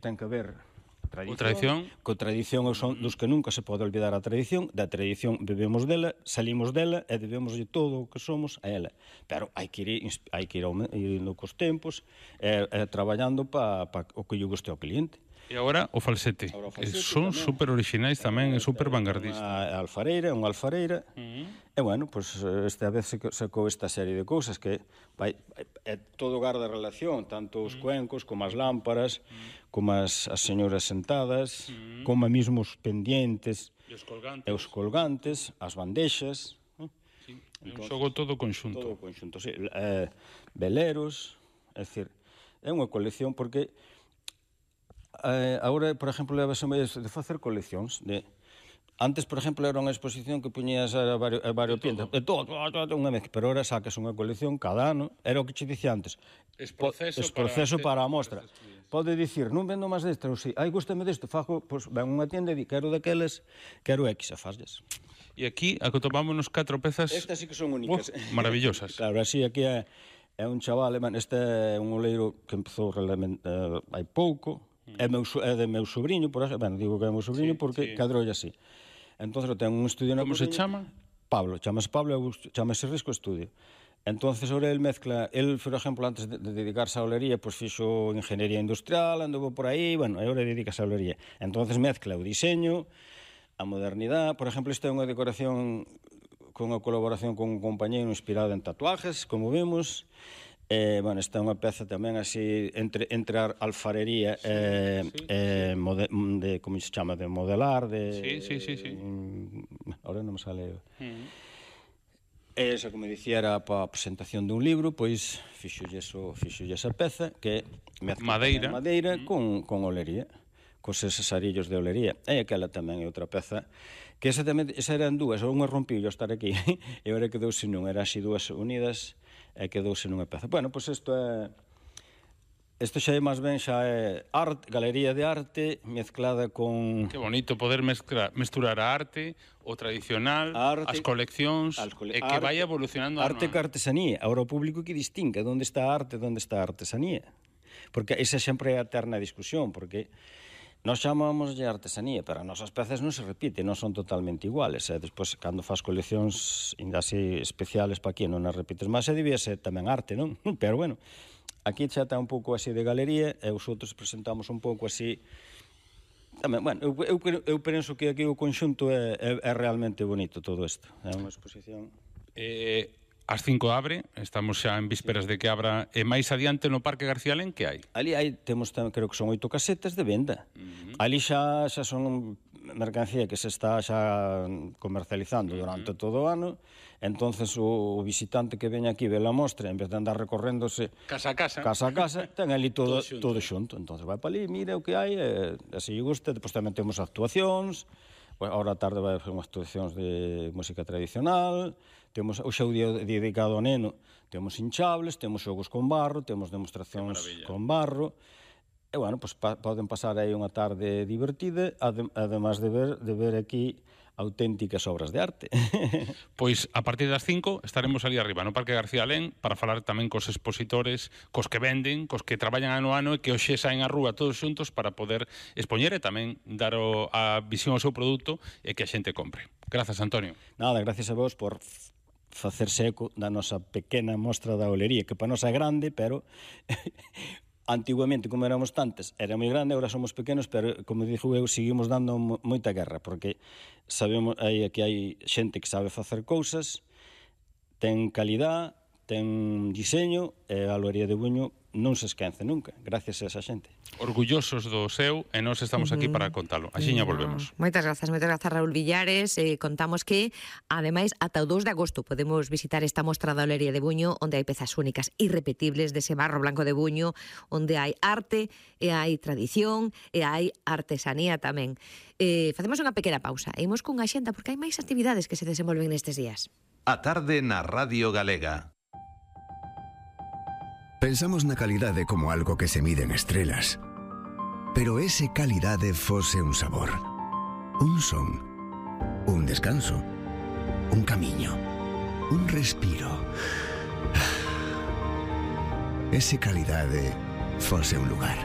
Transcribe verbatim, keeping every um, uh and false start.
ten que ver O tradición. Co tradición son dos que nunca se pode olvidar a tradición. Da tradición bebemos dela, salimos dela e debemos de todo o que somos a ela. Pero hai que ir, hai que ir indo cos tempos e, e traballando para pa o que lle guste ao cliente. E agora o falsete, Agora o que falsete son tamén. super originais tamén e super vanguardistas. Unha alfareira, unha alfareira. Uh -huh. E, bueno, pois, pues, esta vez sacou esta serie de cousas que vai, é todo garda relación, tanto os cuencos, como as lámparas, como as, as señoras sentadas, uh -huh. como mesmo os pendientes, e os colgantes, e os colgantes, as bandexas. Sí, é un xogo todo conxunto. Todo conxunto, sí. Eh, veleros, é dicir, é unha colección porque eh, agora, por exemplo, levase de facer coleccións de... Antes, por exemplo, era unha exposición que puñías a varios, a varios pintas, de todo, todo, unha vez, pero ahora sacas unha colección cada ano, era o que che dicía antes. Es proceso, es proceso para, para a mostra. Para Pode dicir, non vendo máis desta, ou si, ai, gústame desto, fago, pois, ven unha tienda e di, quero daqueles, quero X, a fasles. E aquí, acotomámonos catro pezas... Estas sí que son únicas. Oh, maravillosas. Claro, así, aquí é, é un chaval, man, este é un oleiro que empezou realmente uh, hai pouco, é, meu, é de meu sobrinho, por eso, bueno, digo que é meu sobrinho sí, porque sí. cadroulle así. Entonces, ten un estudio na Como Coruña. se chama? Pablo, chamase Pablo, chamase Risco Estudio. Entonces, ahora el mezcla, el, por exemplo, antes de, de dedicarse á olería, pues fixo ingeniería industrial, andou por aí, bueno, e ahora dedicase á olería. Entonces, mezcla o diseño, a modernidade, por exemplo, esta é unha decoración con unha colaboración con un compañeiro inspirado en tatuajes, como vemos. Eh, bueno, esta é unha peza tamén así entre, entre a alfarería sí, e, sí, eh, sí. Mode, de, como se chama, de modelar, de... Sí, sí, sí, sí. Eh, ahora non me sale... Uh-huh. Esa, como dicía, era para a presentación dun libro, pois fixolle esa peza, que é madeira, madeira uh-huh. con, con olería, cos eses arillos de olería. E aquela tamén é outra peza, que esa tamén, esa eran dúas, unha rompiu yo estar aquí, e agora quedouse non, eran así dúas unidas, e quedouse nunha peza. Bueno, pois isto é... Isto xa é máis ben, xa é arte, galería de arte mezclada con... Que bonito poder mezclar, mesturar a arte, o tradicional, a arte, as coleccións, as cole... e que vai evolucionando. Arte que artesanía. Agora o público que distingue onde está a arte e onde está a artesanía. Porque esa sempre é a eterna discusión, porque nós chamamos de artesanía, pero as nosas pezas non se repiten, non son totalmente iguales. E despois, cando faz coleccións así especiales para aquí, non as repites máis, e debía ser tamén arte, non? Pero bueno, aquí xa está un pouco así de galería, e os outros presentamos un pouco así... Tamén, bueno, eu, eu, eu penso que aquí o conxunto é, é, é realmente bonito todo isto. É unha exposición... Eh... As cinco abre, estamos xa en vísperas de que abra, e máis adiante no Parque García Len, que hai? Ali hai, temos, creo que son oito casetas de venda. Uh-huh. Ali xa, xa son mercancía que se está xa comercializando uh-huh. durante todo o ano, entonces o, o visitante que veña aquí ve a mostra, en vez de andar recorréndose casa a casa, casa, a casa ten ali todo, todo, xunto. todo xunto. Entonces vai para ali, mira o que hai, e, e se lle gusta, depois tamén temos actuacións. Ahora a tarde vai fazer unhas actuacións de música tradicional, temos o xou dedicado ao neno, temos hinchables, temos xogos con barro, temos demostracións con barro, e, bueno, pues, pa, poden pasar aí unha tarde divertida, además de ver, de ver aquí auténticas obras de arte. Pois a partir das cinco estaremos ali arriba no Parque García Len para falar tamén cos expositores, cos que venden, cos que traballan ano a ano e que hoxe saen á rúa todos xuntos para poder expoñer e tamén dar o, a visión ao seu produto e que a xente compre. Grazas, Antonio. Nada, gracias a vos por facerse eco da nosa pequena mostra da olería, que para nós é grande, pero... Antiguamente, como éramos tantas, era moi grande, agora somos pequenos, pero, como dixo eu, seguimos dando moita guerra, porque sabemos aí que hai xente que sabe facer cousas, ten calidad, ten diseño, e a olería de Buño non se esquece nunca, gracias a esa xente. Orgullosos do seu, e nós estamos aquí para contalo. Axiña volvemos. Moitas grazas, moitas grazas, Raúl Villares. Eh, contamos que, ademais, ata o dous de agosto podemos visitar esta mostra da olería de Buño, onde hai pezas únicas, irrepetibles, dese barro blanco de Buño, onde hai arte, e hai tradición, e hai artesanía tamén. Eh, facemos unha pequena pausa, e imos cunha xenda, porque hai máis actividades que se desenvolven nestes días. A tarde na Radio Galega. Pensamos na calidade como algo que se mide en estrelas. Pero ese calidade fose un sabor, un son, un descanso, un camiño, un respiro. Ese calidade fose un lugar.